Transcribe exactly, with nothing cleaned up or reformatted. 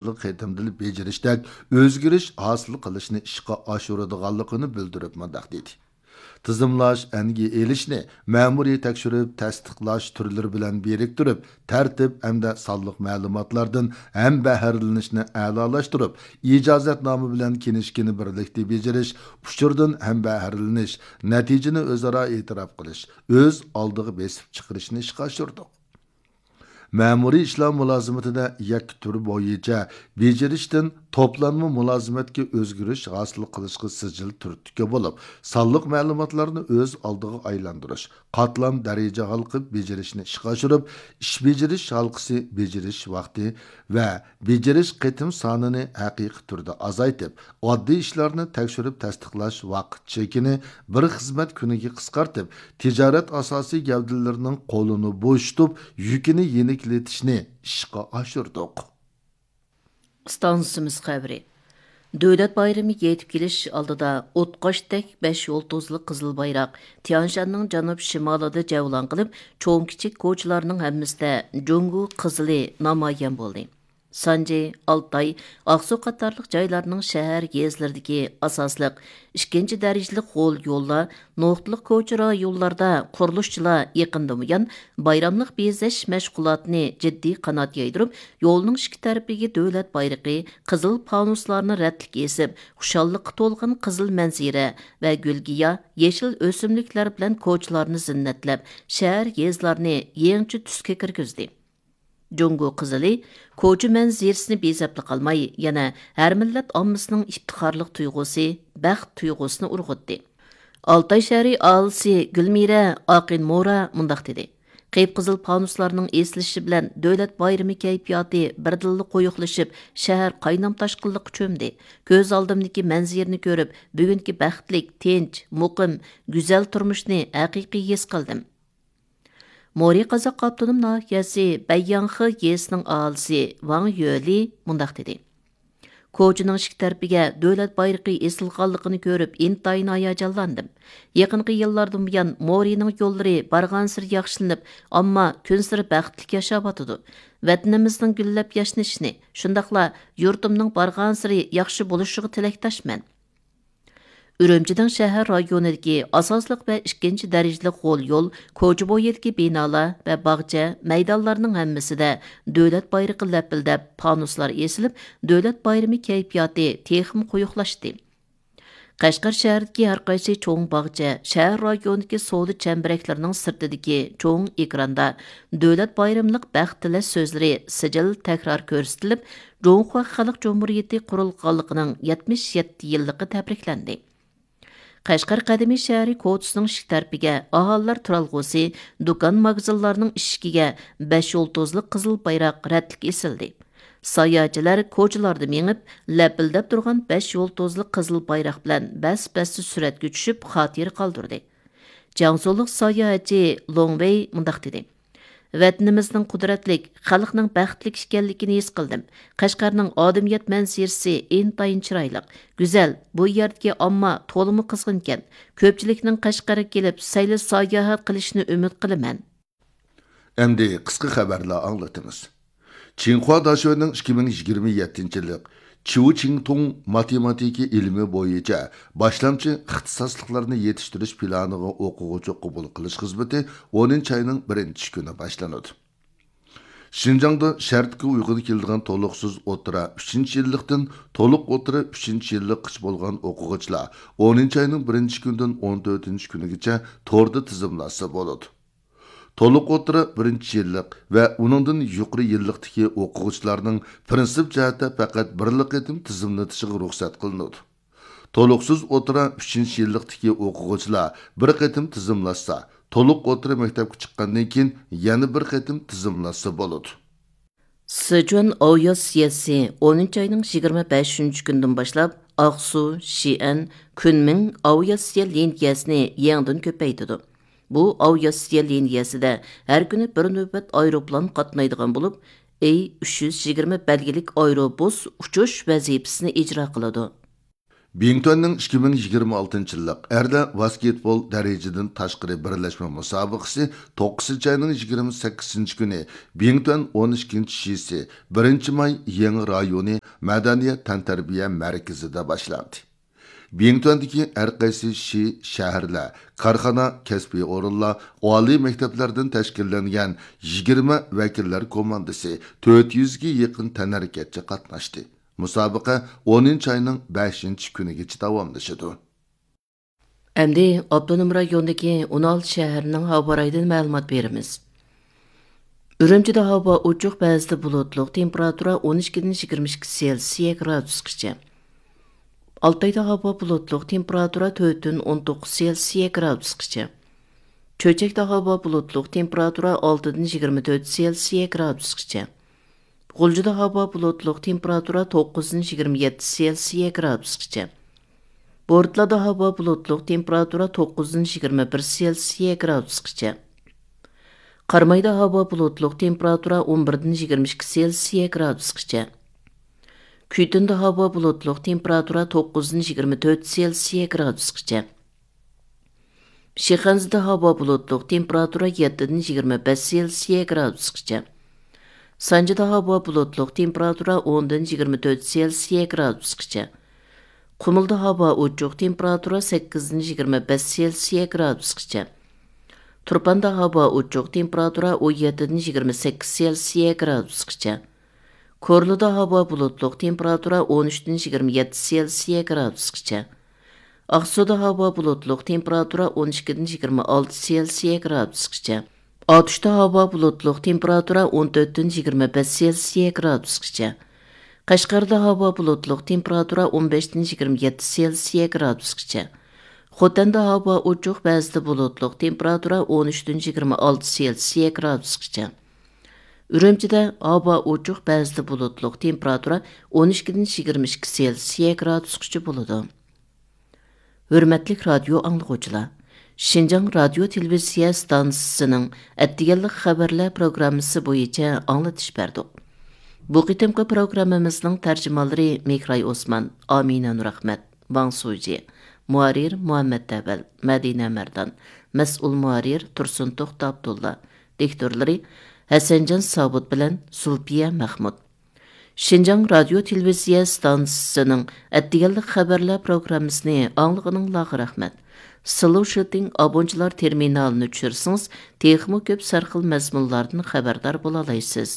قېتىمدىلا بېجىرىشتەك ئۆزگىرىش ھاسىل قىلىشنى ئىشقا ئاشۇرىدىغانلىقىنى بىلدۈرۈپ مۇنداق دېدى: تىزىملاش، ئەنگە ئېلىشنى مەمۇرىي تەكشۈرۈپ تەستىقلاش تۈرلىرى بىلەن بىرىكتۈرۈپ، تەرتىپ ھەمدە سانلىق مەلۇماتلاردىن ھەمبەھىرىلىنىشنى ئەلالاشتۇرۇپ، ئىجازەتنامە بىلەن كىنىشكىنى بىرلىكتە بېجىرىش، ئۇچۇردىن ھەمبەھىرلىنىش، نەتىجىنى ئۆزئارا ئېتىراپ قىلىش، ئۆز ئالدىغا بېسىپ چىقىرىشنى ئىشقا ئاشۇردۇق. مەمۇرىي ئىشلار مۇلازىمىتىدە يەككە تۈر بويىچە بېجىرىشتىن توپلانما مۇلازىمەتكە ئۆزگىرىش ھاسىل قىلىشقا سىجىل تۈرتكە بولۇپ، سانلىق مەلۇماتلارنى ئۆز ئالدىغا ئايلاندۇرۇش، قاتلام دەرىجە ھالقىپ بېجىرىشنى ئىشقا ئاشۇرۇپ، ئىش بېجىرىش ھالقىسى بېجىرىش ۋاقتى ۋە بېجىرىش قېتىم سانىنى ھەقىقىي تۈردە ئازايتىپ، ئاددىي ئىشلارنى تەكشۈرۈپ تەستىقلاش ۋاقىت چېكىنى بىر خىزمەت كۈنىگە قىسقارتىپ، تىجارەت ئاساسىي گەۋدىلىرىنىڭ قولىنى بوشىتىپ، يۈكىنى يېنىكلىتىشنى ئىشقا ئاشۇردۇق. ئىستانسىمىز خەۋىرى. دۆلەت بايرىمى يېتىپ كېلىش ئالدىدا ئوتقاشتەك بەش يۇلتۇزلۇق قىزىل بايراق تيانشاننىڭ جەنۇب شىمالىدا جەۋلان قىلىپ، چوڭ كىچىك كوچىلارنىڭ ھەممىسىدە جۇڭگو قىزىلى نامايان بولدى. سانجى، ئالتاي، ئاقسۇ قاتارلىق جايلارنىڭ شەھەر يېزىلىرىدىكى ئاساسلىق ئىككىنچى دەرىجىلىك غول يوللار، نۇقتىلىق كوچا رايونلاردا قۇرۇلۇشچىلار يېقىندىن بۇيان بايراملىق بېزەش مەشغۇلاتىنى جىددىي قانات يايدۇرۇپ، يولنىڭ ئىككى تەرىپىگە دۆلەت بايرىقى، قىزىل پانۇسلارنى رەتلىك ئېسىپ، خۇشاللىققا تولغان قىزىل مەنزىرە ۋە گۈل-گىياھ، يېشىل ئۆسۈملۈكلەر بىلەن كوچىلارنى زىننەتلەپ، شەھەر يېزىلارنى يېڭىچە تۈسكە كىرگۈزدى. جۇڭگو قىزىلى كوچا مەنزىرىسىنى بېزەپلا قالماي، يەنە ھەر مىللەت ئاممىسىنىڭ ئىپتىخارلىق تۇيغۇسى، بەخت تۇيغۇسىنى ئۇرغۇتتى. ئالتاي شەھىرى ئاھالىسى گۈلمىرە ئاقىن مورا مۇنداق دېدى: قىپقىزىل پانۇسلارنىڭ ئېسىلىشى بىلەن دۆلەت بايرىمى كەيپىياتى بىردىنلا قويۇقلىشىپ، شەھەر قاينام-تاشقىنلىققا چۆمدى. كۆز ئالدىمدىكى مەنزىرىنى كۆرۈپ، بۈگۈنكى بەختلىك، تىنچ، مۇقىم، گۈزەل تۇرمۇشنى ھەقىقىي ھېس قىلدىم. مورى قازاق ئاپتونوم ناھىيەسى بەيياڭخې يېزىسىنىڭ ئاھالىسى ۋاڭ يۆلى مۇنداق دېدى: كوچىنىڭ ئىككى تەرىپىگە دۆلەت بايرىقى ئېسىلغانلىقىنى كۆرۈپ، ئىنتايىن ھاياجانلاندىم. يېقىنقى يىللاردىن بۇيان مورىنىڭ يوللىرى بارغانسېرى ياخشىلىنىپ، ئامما كۈنسېرى بەختلىك ياشاۋاتىدۇ. ۋەتىنىمىزنىڭ گۈللەپ ياشنىشىنى، شۇنداقلا يۇرتۇمنىڭ بارغانسېرى ياخشى بولۇشىغا تىلەكداشمەن. ئۈرۈمچىنىڭ شەھەر رايونىدىكى ئاساسلىق ۋە ئىككىنچى دەرىجىلىك غول يول، كوچا بويىدىكى بىنالار ۋە باغچە، مەيدانلارنىڭ ھەممىسىدە دۆلەت بايرىقى لەپىلدەپ، پانۇسلار ئېسىلىپ، دۆلەت بايرىمى كەيپىياتى تېخىمۇ قويۇقلاشتى. قەشقەر شەھىرىدىكى ھەر قايسى چوڭ باغچە، شەھەر رايونىدىكى سودا چەمبىرەكلىرىنىڭ سىرتىدىكى چوڭ ئېكراندا دۆلەت بايرىملىق بەخت تىلەش سۆزلىرى سىجىل تەكرار كۆرسىتىلىپ، جۇڭخۇا خەلق جۇمھۇرىيىتى قۇرۇلغانلىقىنىڭ يەتمىش يەتتە يىللىقى تەبرىكلەندى. قەشقەر قەدىمىي شەھىرى كوچىسىنىڭ ئىشىك تەرىپىگە ئاھالىلەر تۇرالغۇسى، دۇكان، ماگىزىنلارنىڭ ئىشىكىگە بەش يۇلتۇزلۇق قىزىل بايراق رەتلىك ئېسىلدى. ساياھەتچىلەر كوچىلاردا مېڭىپ، لەپىلدەپ تۇرغان بەش يۇلتۇزلۇق قىزىل بايراق بىلەن بەس-بەستە سۈرەتكە چۈشۈپ، خاتىرە قالدۇردى. جياڭسۇلۇق ساياھەتچى لوڭ ۋېي مۇنداق دېدى: ۋەتىنىمىزنىڭ قۇدرەتلىك، خەلقنىڭ بەختلىك ئىكەنلىكىنى ھېس قىلدىم. قەشقەرنىڭ ئادەمىيەت مەنزىرىسى ئىنتايىن چىرايلىق، گۈزەل، بۇ يەردىكى ئامما تولىمۇ قىزغىنكەن. كۆپچىلىكنىڭ قەشقەرگە كېلىپ، سەيلە ساياھەت قىلىشىنى ئۈمىد قىلىمەن. ئەمدى قىسقا خەۋەرلەر ئاڭلىتىمىز. چىڭخۇا داشۆنىڭ ئىككى مىڭ يىگىرمە يەتتىنچى يىللىق چيۇ چىڭتۇڭ ماتېماتىكا ئىلمى بويىچە باشلامچى ئىختىساسلىقلارنى يېتىشتۈرۈش پىلانىغا ئوقۇغۇچى قوبۇل قىلىش خىزمىتى ئونىنچى ئاينىڭ بىرىنچى كۈنى باشلىنىدۇ. شىنجاڭدا شەرتكە ئۇيغۇن كېلىدىغان تولۇقسىز ئوتتۇرا ئۈچىنچى يىللىقتىن تولۇق ئوتتۇرا ئۈچىنچى يىللىققىچە بولغان ئوقۇغۇچىلار ئونىنچى ئاينىڭ بىرىنچى كۈنىدىن ئون تۆتىنچى كۈنىگىچە توردا تىزىملاشسا بولىدۇ. تولۇق ئوتتۇرا بىرىنچى يىللىق ۋە ئۇنىڭدىن يۇقىرى يىللىقتىكى ئوقۇغۇچىلارنىڭ پىرىنسىپ جەھەتتە پەقەت بىرلا قېتىم تىزىملىتىشىغا رۇخسەت قىلىنىدۇ. تولۇقسىز ئوتتۇرا ئۈچىنچى يىللىقتىكى ئوقۇغۇچىلار بىر قېتىم تىزىملاشسا، تولۇق ئوتتۇرا مەكتەپكە چىققاندىن كېيىن يەنە بىر قېتىم تىزىملاشسا بولىدۇ. سىچۈەن ئاۋىئاتسىيەسى ئونىنچى ئاينىڭ يىگىرمە بەشىنچى كۈنىدىن باشلاپ ئاقسۇ، شىئەن، كۈنمىڭ ئاۋىئاتسىيە لىنىيەسىنى يېڭىدىن كۆپەيتىدۇ. بۇ ئاۋىئاتسىيە لىنىيەسىدە ھەر كۈنى بىر نۆۋەت ئايروپىلان قاتنايدىغان بولۇپ، ئېي ئۈچ يۈز يىگىرمە بەلگىلىك ئايروبۇس ئۇچۇش ۋەزىپىسىنى ئىجرا قىلىدۇ. بىڭتۈەننىڭ ئىككى مىڭ يىگىرمە ئالتىنچى يىللىق ئەرلەر ۋاسكېتبول دەرىجىدىن تاشقىرى بىرلەشمە مۇسابىقىسى توققۇزىنچى ئاينىڭ يىگىرمە سەككىزىنچى كۈنى بىڭتۈەن ئون ئىككىنچى شىسى، بىرىنچى ماي يېڭى رايونى مەدەنىيەت تەنتەربىيە مەركىزىدە باشلاندى. بىڭتۈەندىكى ھەر قايسى شى، شەھەرلەر، كارخانا، كەسپىي ئورۇنلار، ئالىي مەكتەپلەردىن تەشكىللەنگەن يىگىرمە ۋەكىللەر كوماندىسى تۆت يۈزگە يېقىن تەنھەرىكەتچى قاتناشتى. مۇسابىقە ئونىنچى ئاينىڭ بەشىنچى كۈنىگىچە داۋاملىشىدۇ. ئەمدى ئاپتونوم رايوندىكى ئون ئالتە شەھەرنىڭ ھاۋا رايىدىن مەلۇمات بېرىمىز. ئۈرۈمچىدە ھاۋا ئوچۇق، بەزىدە بۇلۇتلۇق، تېمپېراتۇرا ئون ئىككىدىن يىگىرمە ئىككى سېلسىيە گرادۇسقىچە. ئالتايدا ھاۋا بۇلۇتلۇق، تېمپېراتۇرا تۆتتىن ئون توققۇز سېلسىيە گرادۇسقىچە. چۆچەكتە ھاۋا بۇلۇتلۇق، تېمپېراتۇرا ئالتىدىن يىگىرمە تۆت سېلسىيە گرادۇسقىچە. غۇلجىدا ھاۋا بۇلۇتلۇق، تېمپېراتۇرا توققۇزدىن يىگىرمە يەتتە سېلسىيە گرادۇسقىچە. بورتالادا ھاۋا بۇلۇتلۇق، تېمپېراتۇرا توققۇزدىن يىگىرمە بىر سېلسىيە گرادۇسقىچە. قارامايدا ھاۋا بۇلۇتلۇق، تېمپېراتۇرا ئون بىردىن يىگىرمە ئىككى سېلسىيە گرادۇسقىچە. كۈيتۇندا ھاۋا بۇلۇتلۇق، تېمپېراتۇرا توققۇزدىن يىگىرمە تۆت سېلسىيە گرادۇسقىچە. شىخەنزىدە ھاۋا بۇلۇتلۇق، تېمپېراتۇرا يەتتىدىن يىگىرمە بەش سېلسىيە گرادۇسقىچە. سانجىدا ھاۋا بۇلۇتلۇق، تېمپېراتۇرا ئوندىن يىگىرمە تۆت سېلسىيە گرادۇسقىچە. قۇمۇلدا ھاۋا ئوچۇق، تېمپېراتۇرا سەككىزدىن يىگىرمە بەش سېلسىيە گرادۇسقىچە. تۇرپاندا ھاۋا ئوچۇق، تېمپېراتۇرا ئون يەتتىدىن يىگىرمە سەككىز سېلسىيە گرادۇسقىچە. كورلىدا ھاۋا بۇلۇتلۇق، تېمپېراتۇرا ئون ئۈچتىن يىگىرمە يەتتە سېلسىيە گرادۇسقىچە. ئاقسۇدا ھاۋا بۇلۇتلۇق، تېمپېراتۇرا ئون ئىككىدىن يىگىرمە ئالتە سېلسىيە گرادۇسقىچە. ئاتۇشتا ھاۋا بۇلۇتلۇق، تېمپېراتۇرا ئون تۆتتىن يىگىرمە بەش سېلسىيە گرادۇسقىچە. قەشقەردە ھاۋا بۇلۇتلۇق، تېمپېراتۇرا ئون بەشتىن يىگىرمە يەتتە سېلسىيە گرادۇسقىچە. خوتەندە ھاۋا ئوچۇق، بەزىدە بۇلۇتلۇق، تېمپېراتۇرا ئون ئۈچتىن يىگىرمە ئالتە سېلسىيە گرادۇسقىچە. ئۈرۈمچىدە ھاۋا ئوچۇق، بەزىدە بۇلۇتلۇق، تېمپېراتۇرا ئون ئىككىدىن يىگىرمە ئىككى سېلسىيە گرادۇسقىچە بولىدۇ. ھۆرمەتلىك رادىيو ئاڭلىغۇچىلار! شىنجاڭ رادىيو تېلېۋىزىيە ئىستانسىسىنىڭ ئەتىگەنلىك خەۋەرلەر پروگراممىسى بويىچە ئاڭلىتىش بەردۇق. بۇ قېتىمقى پروگراممىمىزنىڭ تەرجىمانلىرى مېھراي ئوسمان، ئامىنە نۇرئەخمەت، ۋاڭ سۇجى، مۇھەررىر مۇھەممەت ئەۋەل، مەدىنە مەردان، مەسئۇل مۇھەررىر تۇرسۇن توختى ئابدۇللا، دىكتورلىرى ھەسەنجان سابىت بىلەن زۇلپىيە مەخمۇت. شىنجاڭ رادىيو تېلېۋىزىيە ئىستانسىسىنىڭ ئەتىگەنلىك خەۋەرلەر پروگراممىسىنى ئاڭلىغىنىڭلارغا رەھمەت. سلوشىتىڭ ئابونچىلار تېرمىنالىنى چۈشۈرسىڭىز، تېخىمۇ كۆپ سەرخىل مەزمۇنلاردىن خەۋەردار بولالايسىز.